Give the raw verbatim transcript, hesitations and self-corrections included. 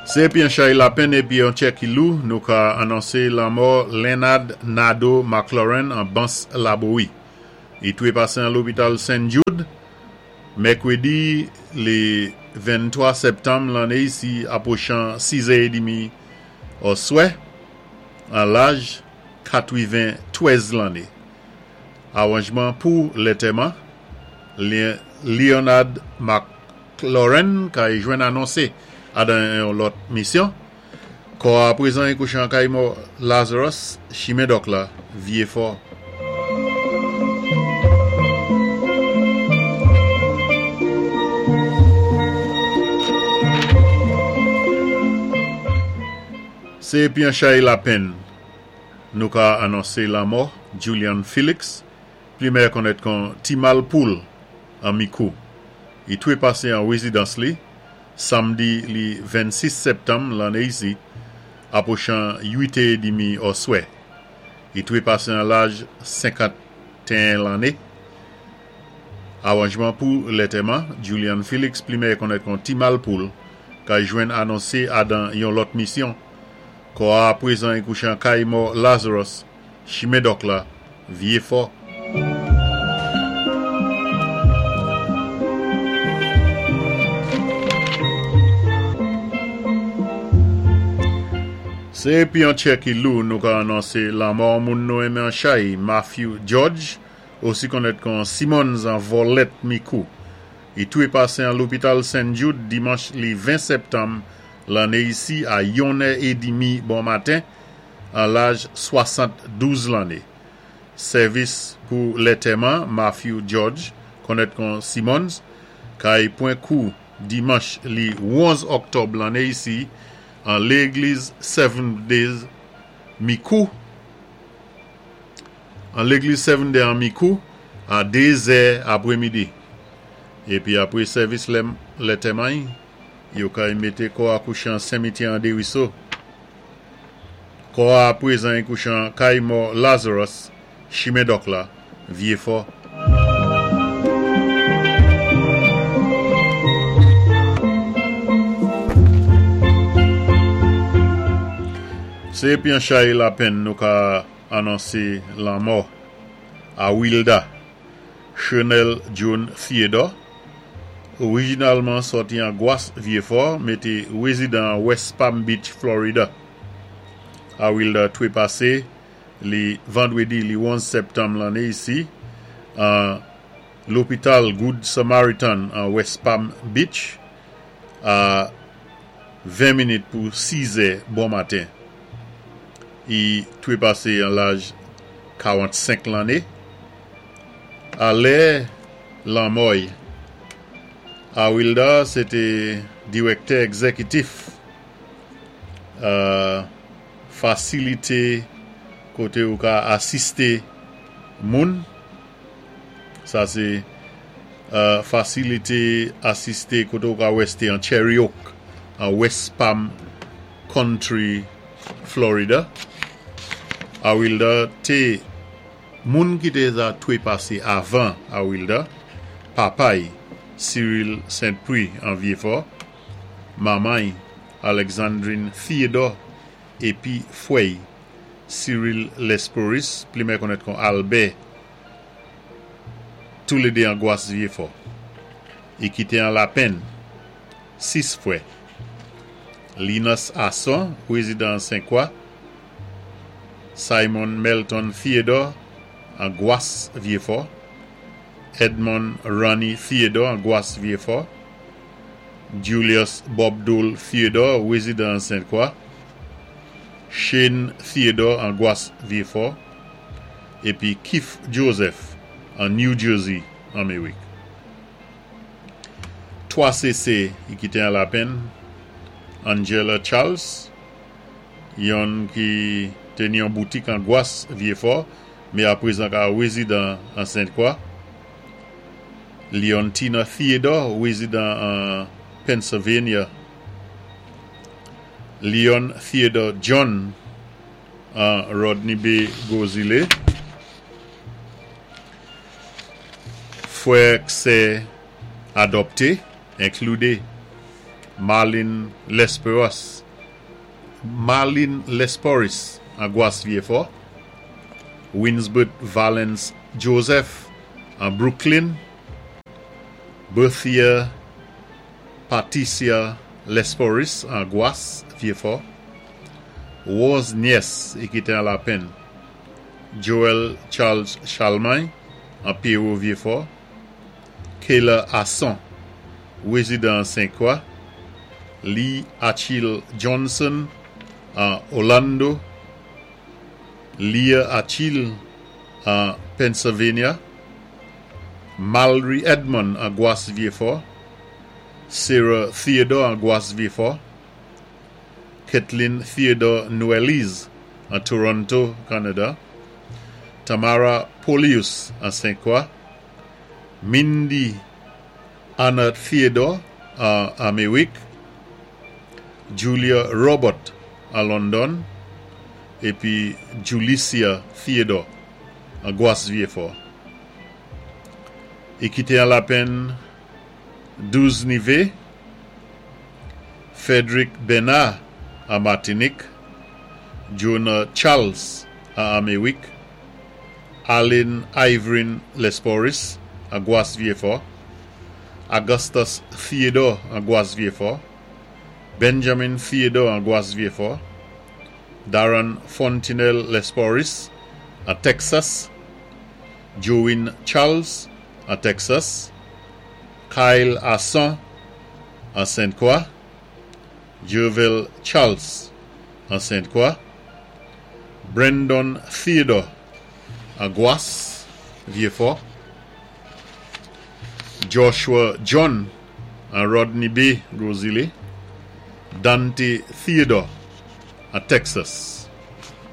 Sé épi an chay lapenn épi an tjè ki lou, nou ka anonsé lanmò Leonard Nado McLaurin an Bans Labowi. I twé pasé an lopital Saint Jude, mèkwédi li venntwa sèptanm lanné isi apwochan sizè édmi oswè, an laj katwiven-twèz lanné. Awanjman pou lantèman, Leonard McLaurin kay jwenn anonsé adan yon lòt misyon. Kò a prezan i kouché an kay mò Lazarus, chimen Dòk la, Vyéfò. Sé épi an chay lapenn, nou ka anonsé lanmò Julian Felix, pli mèyè konnèt kon Ti Malpoul an Mikou. I twé pasé an wézidans li, samdi li vennsis sèptanm lanné isi, apwochan uitè édmi oswè. I twé pasé an laj senkantéen lanné. Awanjman pou lantèman, Julian Felix, pli mèyè konnèt kon Ti Malpoul, kay jwenn anonsé adan yon lòt misyon. Kò a prezan i kouché an kay mò Lazarus, chimen Dòk la, Vyéfò. Sé épi an tjè ki lou, nou ka anonsé lanmò moun nou enmen an chay, Matthew George, osi konnèt kon Simmons an Vòlèt Mikou. I twé pasé an lopital Saint Jude dimanch li ven sèptanm lanné isi a yonnè édmi bon maten, an laj swasanndouz lanné. Sèvis pou lantèman Matthew George, konnèt kon Simmons, kay pwan kou dimanch li onz òktòb lanné isi an légliz Seven Days Mikou, an légliz Seven Day an Mikou, a dézè apwémidi. Épi apwé sèvis lantèman, yo kay mété kò a kouché an simityè an Dériso. Kò a prezan i kouché an kay mò Lazarus, chimen Dòk la, Vyéfò. Sé épi an chay lapenn nou ka anonsé lanmò Awilda Chenel John Theodore, orijinalman sòti an Gwas Vyéfò, mé té wézidan an West Palm Beach, Florida. Awilda twé pasé li vandwédi li onz sèptanm lanné isi an lopital Good Samaritan an West Palm Beach a ven minit pou sizè bon maten. I twé pasé an laj karannsenk lanné. A lè lanmò-y, Awilda sé té diwèktè egzékitif euh, fasilité koté ou ka asisté moun. Sa sé euh, fasilité asisté koté ou ka wèsté an Cherry Oak, an West Palm Country, Florida. Awilda té moun ki té za twé pasé avan Awilda, papay Cyril Saint-Prix an Vyéfò, manmay Alexandrine Theodore épi fwè'y Cyril Lesporis, pli mèyè konnèt kon Albert, toulédé an Gwas Vyéfò. I kité an lapenn sis fwè. Linus Asson, wézidan Sen-Kwa, Simon Melton Theodore an Gwas Vyéfò, Edmond Ronnie Theodore an Gwas Vyéfò, Julius Bob Dole Theodore, wézidan Sen-Kwa, Shane Theodore an Gwas Vyéfò, épi Keith Joseph an New Jersey, Amérik. Twa sé i kité an lapenn, Angela Charles, yonn ki té ni yon boutik an Gwas Vyéfò, mé aprezan ka wézidan an Sent-Kwa. Leontina Theodore, wézidan an Pennsylvania. Leon Theodore John an Rodney Bay Gozile. Fwè ak sè adòpté, enkludé Marlene Lesperos, Marlene Lesporis an Gwas Vyéfò, Winsbert Valence Joseph an Brooklyn, Berthia Patricia Lesporis an Gwas Vyéfò, Rose Nies i kité an Lapenn, Joel Charles Chalmagne an Pierrot Vyéfò, Kayla Asson, wézidan Sen-Kwa, Lee Achille Johnson an Orlando, Leah Achille an Pennsylvania, Mallory Edmond an Gwas Vyéfò, Sarah Theodore an Gwas Vyéfò, Kathleen Theodore Noëlise an Toronto, Canada, Tamara Polius an Saint-Croix, Mindy Anna Theodore an Améwik, Julia Robert an London, épi Julicia Theodore an Gwas Vyéfò. I kité an Lapenn douz Nivé, Frederick Bernard an Martinique, Jonah Charles an Améwik, Aline Ivorin Lesporis an Gwas Vyéfò, Augustus Theodore an Gwas Vyéfò, Benjamin Theodore an Gwas Vyéfò, Darren Fontenelle Lesporis an Texas, Join Charles an Texas, Kyle Asson an Sainte-Croix, Jerville Charles an Sainte-Croix, Brandon Theodore an Gwas Vyéfò, Joshua John an Rodney Bay, Gros Islet, Dante Theodore an Texas.